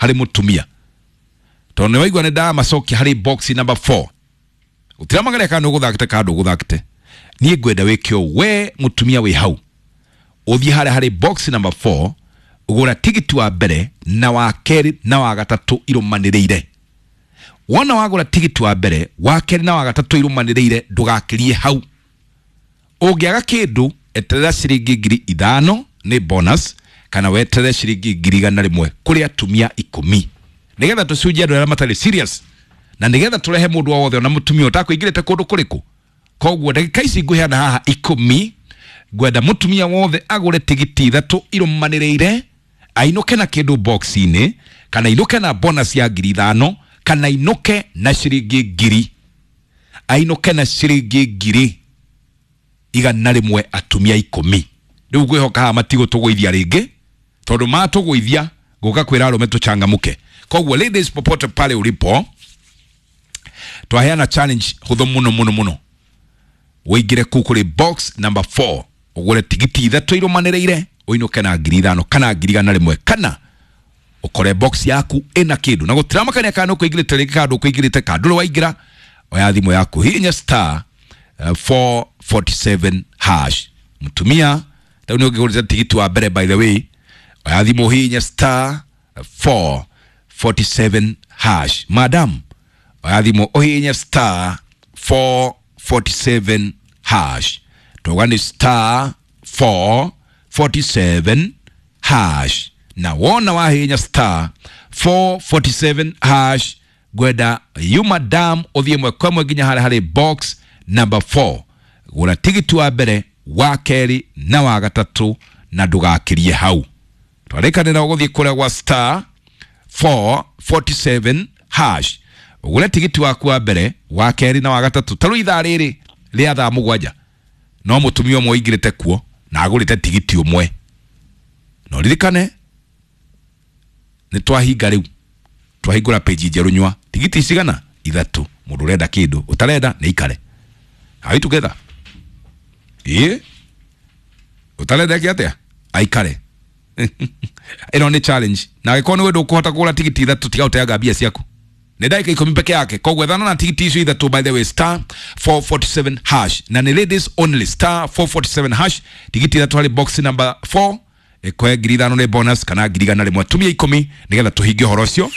Harĩ mũtumia, tondũ nĩ waigua nĩ ndamacokia harĩ box number 4, gũtiramagaria kana nĩ ũgũthakĩte kana ndũgũthakĩte. Niĩ ngwenda wĩke ũũ: we mũtumia wĩ hau, ũthiĩ harĩa harĩ box number 4, ũgũra tigiti wa mbere na wa kerĩ na wa gatatũ irũmanĩrĩire. Wona wagũra tigiti wa mbere, wa kerĩ na wa gatatũ irũmanĩrĩire, ndũgakĩrie hau. Ũngĩaga kĩndũ, eterera ciringi 5,000 nĩ bonus, kana weterere ciringi 100,000 kũrĩ atumia 10, nĩgetha tũcunjie andũ arĩa matarĩ serious na nĩgetha tũrehe mũndũ o wothe, ona mũtumia ũtakũingĩrĩte kũndũ kũrĩkũ. Koguo ndagĩka ici ngũheana haha 10, ngwenda mũtumia wothe agũre tigiti 3 irũmanĩrĩire, ainũke na kĩndũ box-inĩ, kana ainũke na bonus ya 5,000, kana ainũke na ciringi ngiri, ainũke na ciringi 100,000, atumia 10. Rĩu ngwĩhoka haha matigũtũgũithia rĩngĩ, tondũ matũgũithia ngũka kwĩra arũme tũchangamke. Koguo ladies, popote pale ulipo, twaheana challenge hũthũ mũno mũno mũno: ũingĩre kũu kũrĩ box number 4, ũgũre tigiti 3 irũmanĩrĩire, ũinũke na 5,000 kana 100,000, kana ũkore box yaku ĩna kĩndũ. Na gũtiramakania kana nĩ ũkũingĩrĩte rĩngĩ kana ndũkũingĩrĩte kana ndũrĩ waingĩra. Oya thimũ yaku, hihinya star 447 hash. Mũtumia, rĩu nĩ ũngĩgũrĩte tigiti wa mbere, by the way, oya thimũ, hihinya star 447 hash. Madam, oya thimũ, ũhihinye star 447 hash. Tuga nĩ star 447 hash. Na wona wahihinya star 447 hash, ngwenda you madam ũthiĩ ĩmwe kwa ĩmwe nginya harĩa harĩ box number 4, gũra tigiti wa mbere, wa kerĩ na wa gatatũ, na ndũgakĩrie hau. Twarĩkanĩra ũgũthiĩ kũrĩa gwa star 447 hash, ũgũre tigiti waku wa mbere, wa kerĩ na wa gatatũ. Ta rĩu ithaa rĩrĩ rĩa thaa 7, no mũtumia ũmwe ũingĩrĩte kuo na agũrĩte tigiti ũmwe. No ririkane nĩ twahinga rĩu, twahingũra page njerũ. Nyua tigiti cigana? 3. Mũndũ ũrenda kĩndũ, ũtarenda nĩ ikare. Are we together? Ĩ ũtarenda eke atĩa? Aikare. Ĩno nĩ challenge, na angĩkorwo nĩ wendũ ũkũhota kũgũra tigiti 3, tiga ũteanga mbia ciaku. Nĩ ndagĩka 10 peke yake, koguo ethana na tigiti icio 3. By the way, star 447 hash, na nĩ ladies only. Star 447 hash, tigiti 3 harĩ box number 4, ĩkoe 5,000 nĩ bonus kana 100,000, atumia 10, nĩgetha tũhingie ũhoro ũcio.